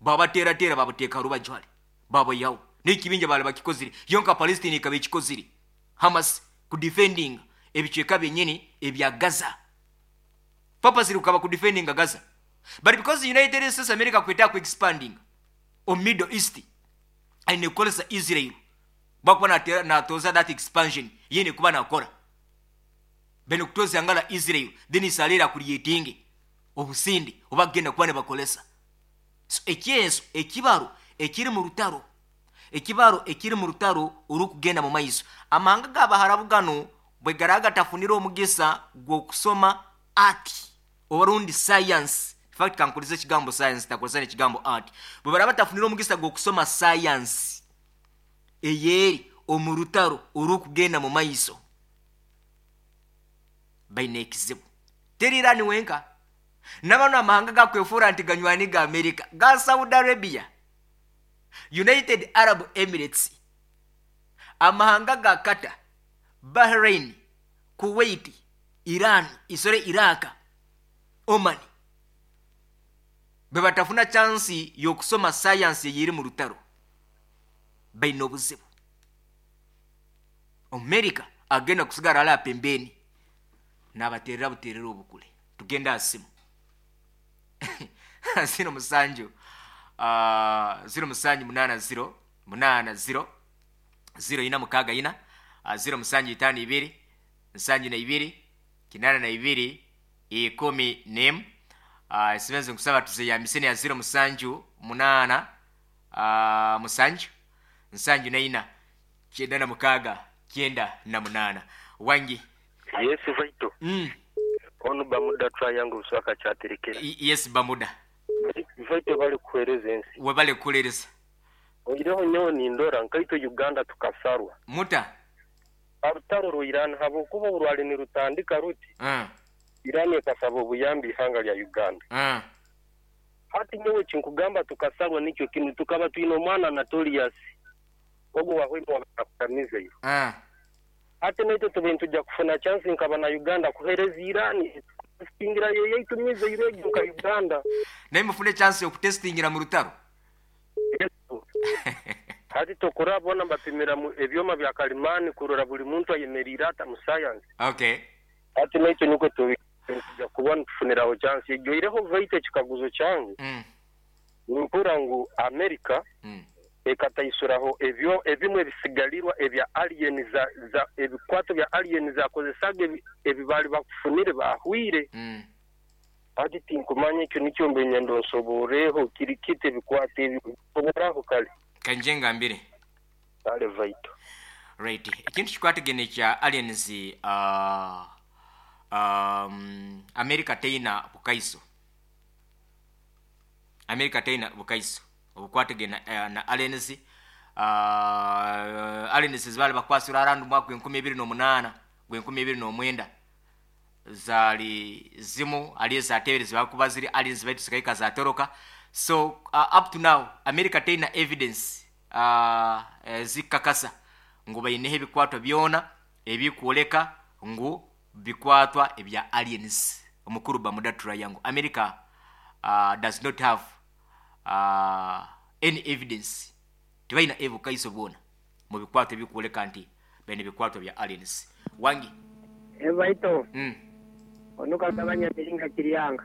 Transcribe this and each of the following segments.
Baabateerateera baabuteeka aha rubaju hare, baabaihaho. N'ekibinja baali bakikozire. Yo nka Palestine ekaba ekikozire, Hamas kudifendinga ebicweka byenyini ebya Gaza. Purposely kukaba kudifendinga Gaza. But because United States America kwetaaga ku expandinga omu Middle East, aine kukoresa Israel bwakuba nateera natooza that expansion ye aine kuba nakora. Baine kutooza ihanga rya Israel then Israel acreatinge obusinde obu bakugenda kuba nibakoresa. So ekyeso ekibaro ekiri mu rutaro, ekibaro ekiri mu rutaro orukugenda mu maiso. Amahanga ga Baharabu ganu bwe garaba gatafunire omugisa gw'okusoma art oba rundi science, in fact kankozese ekigambo science ntakozesa n'ekigambo art, bwe baraba batafunire omugisa gw'okusoma science eyeri omu rutaro orukugenda mu maiso, baine ekizibu. Teri Iran wenka. Na banu amahanga agakwefuura nti ganywani ga Amerika ga Saudi Arabia, United Arab Emirates, amahanga ga Qatar, Bahrain, Kuwait, Iran, sorry Iraq, Oman bwebatafuna chansi y'okusoma sayansi eyeri mu rutaro baine obuzibu. Omumerika agenda kusigara ali apembeni nabaterera buterera obukule. Tugende aha simu. Ziro musanju ziro musanju munaana ziro munaana ziro ziro ina mukaaga ina ziro musanju itaano ibiri nsanju na ibiri kinaana na ibiri ikumi n'emu. Esimu ezi nkusaba tuzeyambise neya ziro musanju munaana musanju nsanju na ina kyenda na mukaaga kyenda na munaana. Wangi. Yes Vital. Onu Bamuda Triangle Buswaka Kyaterekera. Yes Bamuda. Vital webale kuhereza ensi. Webale kukulereza. Oihireho nyowe nindora nkaitwe Uganda tukasarwa. Muta? Orutaro rwa Iran habwokuba obu rwali nirutandika ruti, Iran ekasaba obuyambi ihanga lya Uganda. Hati nyowe ekinkugamba tukasarwa nikyo kinu, tukaba twine omwana Anatolius ogu owahwaine owaba missile. Hati naitwe tube nitwija kufuna chance nka bana Uganda kuhereza Iran etutestingira yo eyaitu missile egyo nka Uganda. Naimwe mufune chance yokutestingira mu rutaro. Yes. Hati tokuraba bona nibapimira mu ebyoma bya kalimani kurora buri muntu ayemeriire ata mu science. Okay. Hati naitwe nikwo tube nitwija kuba nitufuniraho chance egyo. Oihireho baitu ekikaguzo kyange. Nimpurira ngu Amerika ekataisuraho ebyo ebimwe ebisigarirwa ebya alien za za ebikwato bya alien zakozesaga ebi ebi baali bakufunire baahwire. Hati tinkumanya ekyo nikyo mbe nyenda onsoborreho kiri kita ebikwato ebyo nsoboraho kale. Kangye ngambire. Kale Vital. Right. Ekintu kikwatagaine ekya aliens uh, um, America teina bukaiso. America teine bukaiso obukwatagaine na aliens. Aliens ezi baali bakwasire around omu mwaka gw'enkumi ibiri n'omunaana, gw'enkumi ibiri n'omwenda zaali zimu hali ezateeberezibwa kuba ziri aliens baitu zikahika zaatoroka. So up to now America teine evidence ezikukakasa ngu baineho ebikwatwa byona ebikwoleka ngu bikwatwa ebya aliens omukuru Bermuda Triangle America does not have any evidence tibaina ebukaiso bwona mu bikwatwa ebikwoleka nti baine ebikwatwa bya aliens wangi. Baitu onu kagabanya miringa Kiryanga.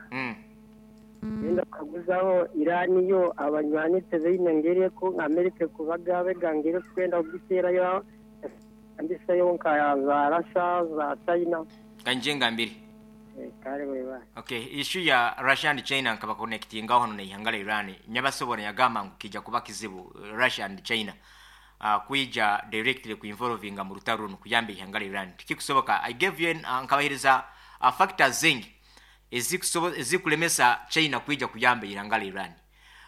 Nenda kukaguzaho Iran yo abanywani tibaine ngeri eku America ekubaga ngeri ekukwenda kugiteerayo Mbiseyo nka za Russia, za China. Kangye ngambire. Kale webale. Ok, issue ya Russia and China nkaba connectingaho hanu neihanga lya Iran, nyabasobora yagamba ngu kija kuba kizibu Russia and China kwija directly ku involvinga mu rutaro runu kuyamba eihanga lya Iran tikikusoboka. I gave you an, nkabahereza factors zingi ezikulemesa China kwija kuyamba eihanga lya Iran.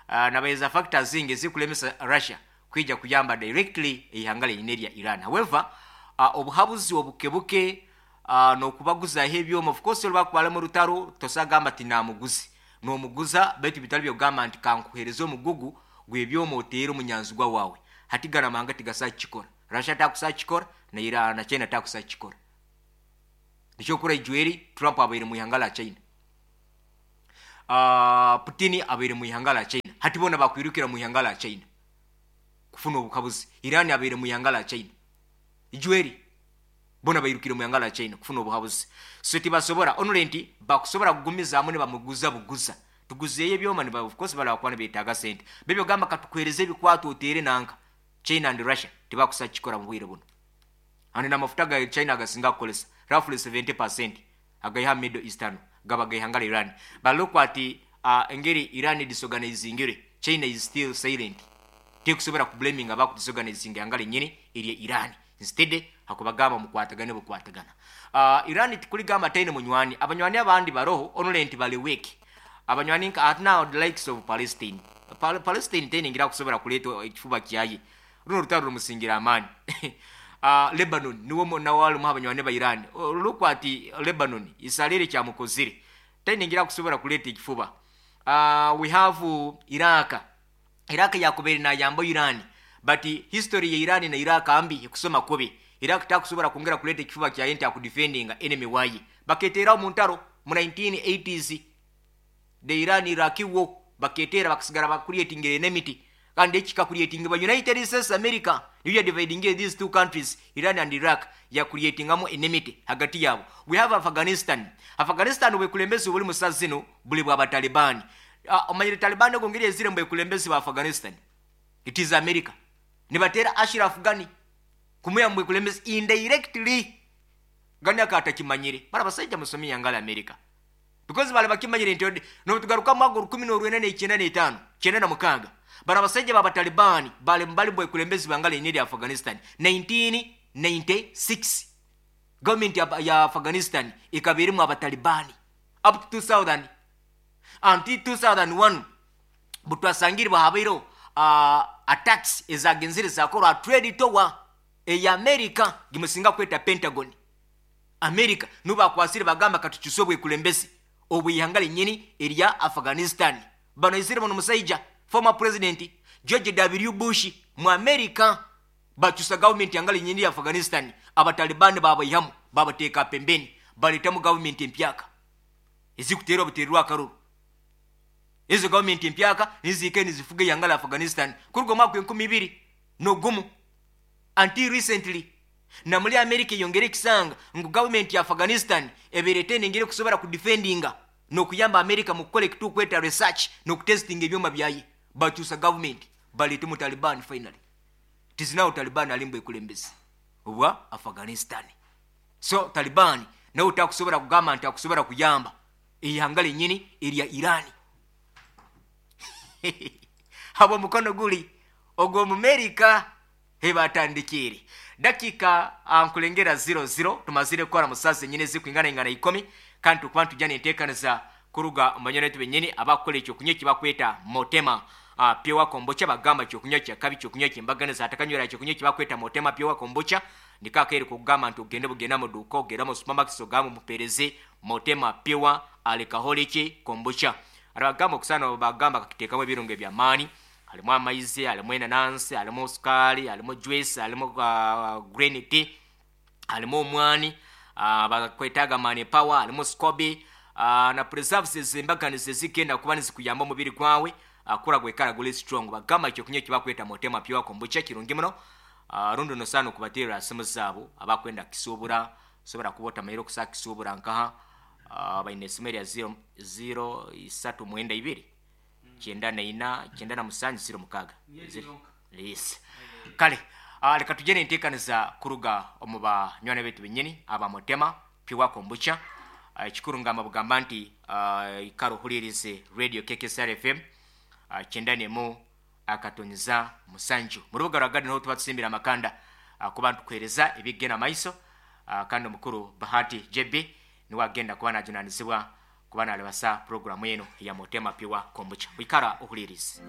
Nabahereza factors zingi ezikulemesa Russia kwija kuyamba directly eihanga lyenyine erya Iran. However, obuhabuzi obuke buke n'okubaguzaho ebyoma, of course obu barikuba bari omu rutaro tosobola kugamba nti namuguze. Nomuguza beitu bitari by'okugamba nti kankuhereze omugugu gw'ebyoma oteere omunyanzigwa waawe. Hati ganu amahanga tigasobola kukikora. Russia takusobola kukikora na Iran na China takusobola kukikora. Nikyo orikuhurira ijweri Trump abaire omu ihanga rya China. Putin abaire omu ihanga rya China. Hati boona bakwirukira mu ihanga la China kufuna obuhabuzi. Iran abaire mu ihanga la China. Ijweri boona bairukire mu ihanga la China kufuna obuhabuzi. So tibasobora only nti bakusobora kugumizaamu nibamuguza buguza. Tuguzeeyo ebyoma niba of course barabakuba nibetaaga sente. Bebyo gamba katukuhereze ebikwato oteere nanka China and Russia tibakusa kukikora mu bwire bunu. And n'amafuta ga China agasinga kukoresa roughly 70% agaiha Middle East hanu gaba g'eihanga lya Iran. But look at engeri Iran edisorganizingire, China is still silent. Tekusobora ku blaminga abaku disorganizinga ihanga ryenyini erya Iran. Instead hakubagamba mukwatagane bukwatagana. Iran tikurigamba taine munywani, abanywani abandi baroho only nti bari weak. Abanywani nka at now the likes of Palestine. Palestine taine engeri akusobora kureeta ekifuba kyaye. Runo orutaro rumusingira amaani. Lebanon niwe nawe arimu aha banywani ba Iran. Look at Lebanon, Israel ekyamukozire. Taine engeri akusobora kureeta ekifuba. We have Iraq. Iraq yakubaire nayamba Iran but history ya Iran na Iraq mbi ekusoma kubi. Iraq takusobora kwongera kureeta ekifuba kyaye nti akudefendinga enemy waye. Baketeeraho omu ntaro mu 1980s. The Iran Iraq war baketeera bakasigara bakureetingire enmity. Kandi eki kikakureetingibwa United States America niyo yadividingire these two countries Iran and Iraq yakureetingamu enmity hagati yaabo. We have Afghanistan. Afghanistan obwekulembezi oburi musa zinu buri bwa Bataliban. Omanyire Taliban ogu ngeri ezire mubwekulembezi bwa Afghanistan? It is America. Nibateera Ashraf Ghani kumuya mubwekulembezi indirectly. Ghani akaba atakimanyire. Bari abasaija musome ihanga rya America. Because bari bakimanyire nti nobutugaruka mu mwaka orukumi n'orwenda n'ekyenda n'etaano, kyenda na mukaaga, bari abasaija ba Bataliban bari bari mubwekulembezi bw'ihanga ryenyini erya Afghanistan. 1996 government ya Afghanistan ekaba erimu Abatalibani up to 2000 until 2001 butwasangire habaireho attacks ezagenzire zakorwa aha trade tower eya America gimusinga kweta Pentagon. America nibo bakwasire bagamba katukyuse obwekulembezi obw'eihanga ryenyini erya Afghanistan. Bano aizire bano omusaija former president George W Bush mu America bakyusa government ihanga ryenyini erya Afghanistan Abatalibani babaihamu babateeka pembeni baretamu government empyaka ezikuteerwa buteererwa akaruru. Ezo government empyaka nizo zihikire nizifuga eihanga rya Afghanistan kuruga omwaka 2001 until recently. Na muri America eyongera ekisanga ngu gavumenti ya Afghanistan ebaire etaine engeri ekusobora kudifendinga n'okuyamba America mu kukora ekitukweta research n'okutestinga ebyoma byaye. Bakyusa gavumenti baleeta omu Taliban finally. It is now Taliban ari mubwekulembezi obwa Afghanistan. So Taliban nawe takusobora kugamba nti akusobora kuyamba eihanga ryenyini erya Iran. Habwo omukono guri ogw'Omumerica. Hebatandikiire. Dakiika nkurengera 00 tumazire kukora mu saaha zenyini ezikwinganaingana ikomi kandi tukuba nitwija nenteekaniza kuruga omu banywani baitu benyini abakukora ekyokunywa ekibakweta Motema Pure Kombucha. Bagamba kyokunywa kyakabi, kyokunywa kyembaganiza, atakanywera kyokunywa ekibakweta Motema Pure Kombucha niko akaire kokugamba nti ogende bugende omu duuka, ogende omu supermarkets ogambe omupereze Motema Pure Alcoholic Kombucha. Arabagamba okusaana bagamba akakiteekamu ebirungo eby'amaani. Harimu amaizi, harimu enanansi, harimu sukaari, harimu juice, harimu green tea, harimu omwani, bakwetaaga mani power, harimu scoby na preserves ez'embaganiza ezigenda kuba nizikuyamba omubiri gwawe kukura gwikara guri strong. Bagamba ekyokunywa ekibakweta Motema Pure Kombucha kirungi muno. Rundi nosaana okubateerera aha simu zaabo abakwenda kukisuubura, osobora kuba otamanyire okusobola kukisuubura nkaha, baine esimu erya ziro ziro isatu mwenda ibiri. 94, 97, 06. Yes. Kale, leka tugye n'enteekaniza kuruga omu banywani baitu benyini aba Motema Pure Kombucha. Ekikuru ngamba bugamba nti ikara ohuriirize Radio KKSR FM 91.7. Mu rubuga rwa Garden niho tuba tusimbire amakanda kuba nitukuheereza ebikugenda maiso kandi omukuru Bahati JB niwe agenda kuba najunanizibwa kuba narebasa puroguramu enu eya Motema Pure Kombucha. Ikara ohuriirize.